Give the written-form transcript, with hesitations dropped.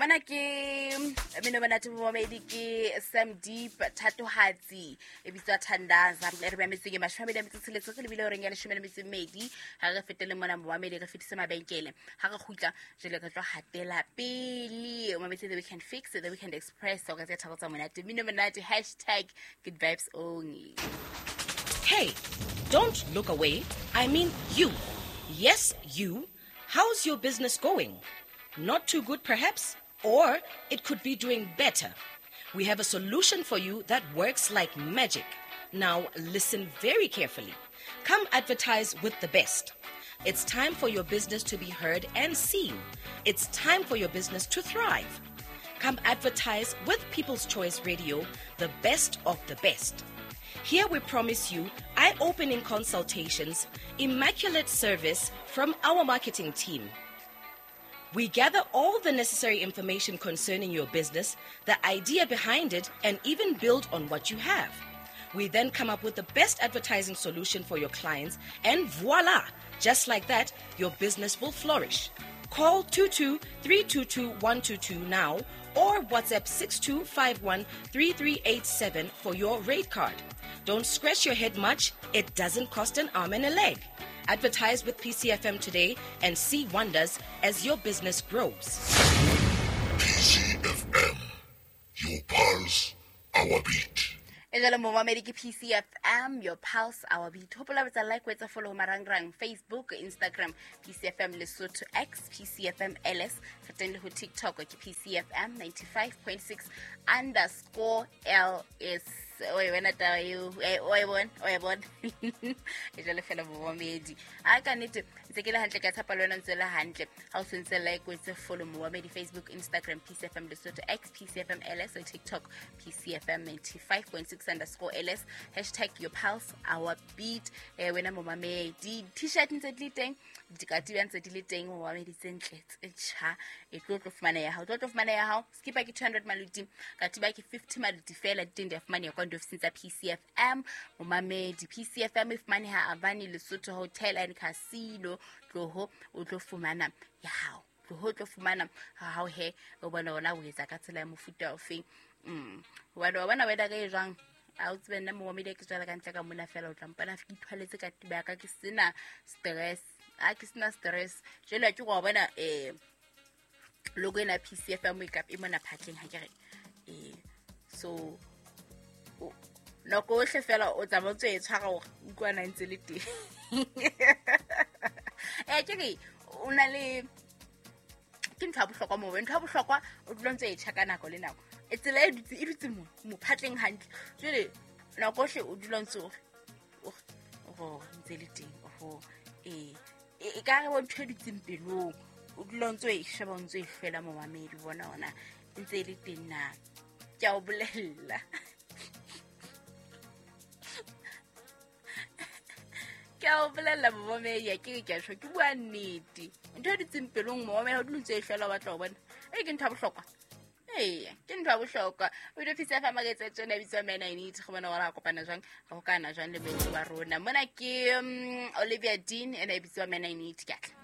Mana ke mmino monate momamedi ke Sam Deep Thatohatsi e bitswa Thandaza. E re mametseng e 26 re lebile horeng ya 12. Ha re fetele mona momamedi re fetise mabenkele. Ha re kgutla jwale re tlo hatela pele. O mametse The Weekend Fix, The Weekend Express. O ka tse tharo tsa monate. Mmino monate hashtag good vibes only. Hey, don't look away. I mean you. Yes, you. How's your business going? Not too good, perhaps? Or it could be doing better. We have a solution for you that works like magic. Now, listen very carefully. Come advertise with the best. It's time for your business to be heard and seen. It's time for your business to thrive. Come advertise with People's Choice Radio, the best of the best. Here we promise you eye opening consultations, immaculate service from our marketing team. We gather all the necessary information concerning your business, the idea behind it, and even build on what you have. We then come up with the best advertising solution for your clients, and voila! Just like that, your business will flourish. Call 22 322 122 now or WhatsApp 6251 3387 for your rate card. Don't scratch your head much, it doesn't cost an arm and a leg. Advertise with PCFM today and see wonders as your business grows. PCFM, your pulse, our beat. E jalo momamedi ke PCFM, your pulse, our beat. Hopola ho etsa like, ho etsa follow marangrang Facebook, Instagram PCFM Lesotho, X PCFM LS. Re teng le ho TikTok ke PCFM 95.6 underscore LS. O e bona taba eo? O e bona, o e bona. E jalo fela momamedi, a ka nnete ntse ke le hantle, ka tshepa le wena ntse le hantle. Ha o sentse like, o etse follow momamedi, Facebook, Instagram PCFM Lesotho, X PCFM LS, TikTok PCFM 95.6 underscore LS, hashtag your pulse, our beat. Wena momamedi, t-shirt ntse di le teng, dikatiba ntse di le teng momamedi, tse ntle tse tjha. E tlo fumana ya hao, tlo fumana ya hao. Skipa ke 200 maluti, katiba ke 50 maluti fela. Di teng, di a fumaneha kwa diofising tsa PCFM momamedi. PCFM e fumaneha Avani Lesotho Hotel and Casino. Tloho o tlo fumana ya hao, tloho o tlo fumana ha hao. He o bona ona o etsa ka tsela ya mofuta ofeng? Hobane wa bona wena ka e jwang, a o tsebe nna momamedi ke tswela ka ntle ka mona fela, o tla mpona ke ithwaletse katiba ya ka, ke sena stress, a ke sena stress. Jwale ke go bona logo ena PCFM e kapa e mona phatleng, ha ke re so nako ohle fela o tsamaya o ntse e tshwara hore utlwana ntse le teng. Ke re o na le ke ntho ya bohlokwa moo, ntho ya bohlokwa o dula ntse e tjha ka nako le nako. E tsela e dutse, e dutse mo phatleng hantle. Jwale nako ohle o dula ntse o re ntse le teng. Oho, e ka re bo ntho e dutseng pelong, o dula ntse o e sheba, o ntse o e hlwela momamedi, bona ona ntse e le teng na. Ke a o bolella, ke a o bolella momamedi, ke re ke a tjho, ke bua nnete. Ntho e dutseng pelong momamedi, ha o dula ntse o e hlwela, o batla ho bona e ke ntho ya bohlokwa. Ee, ke ntho ya bohlokwa. O ile ofisi ya fa maketse tsena e bitswa Man I Need, go bona gore a kopana jwang, re hokana jwang le moetsi wa rona mona. Ke Olivia Dean, ena e bitswa Man I Need. Ke atla.